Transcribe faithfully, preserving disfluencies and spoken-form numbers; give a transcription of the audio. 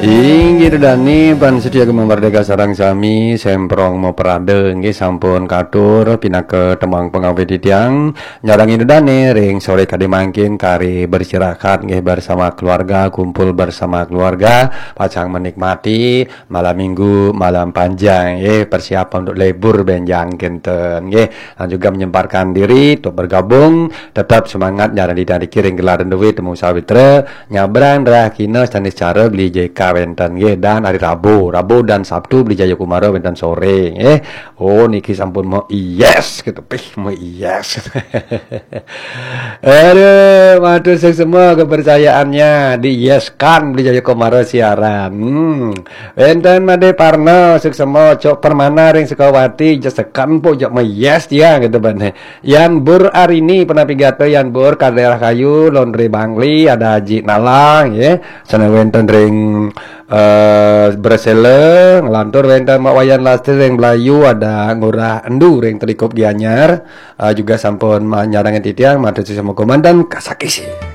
Inggih Ida dane, Pan Setia Gema Merdeka sareng sami, Semprong Moprade nggih sampun katur pinaka tembang pangawit titiang. Nyarengin Ida dane ring sore kadi mangkin kari beristirahat nggih bersama keluarga, kumpul bersama keluarga, pacang menikmati malam minggu, malam panjang nggih, persiapan untuk libur benjang kinten nggih. Dan juga menyempatkan diri untuk bergabung, tetap semangat nyarengin Ida niki ring gelar duit temu sawitra, nyabrang drah kina sanis cara beli J K wenten nggih, dan hari Rabu, Rabu dan Sabtu beli Jayakumara wenten sore nggih. Oh, niki sampun mau yes gitu, pih mau yes. Aduh, matur suksma kepercayaannya, di yes kan beli Jayakumara siaran. Hmm. Wenten Made Parno, suksma Cok Permana ring Sukawati, jesekan po jak mau yes dia gitu bane. Yan Bur Arini, penapi gata Yan Bur, Kadera Kayu, Laundry Bangli, ada Haji Nalang, ya. Sana wenten ring eh Bresela, ngelantur wenten Mak Wayan Lastri ring Belayu, ada Ngurah Endu ring Telikup Gianyar, eh, juga sampun ma-, nyarengin titiang, matur suksma komandan Kasakisi.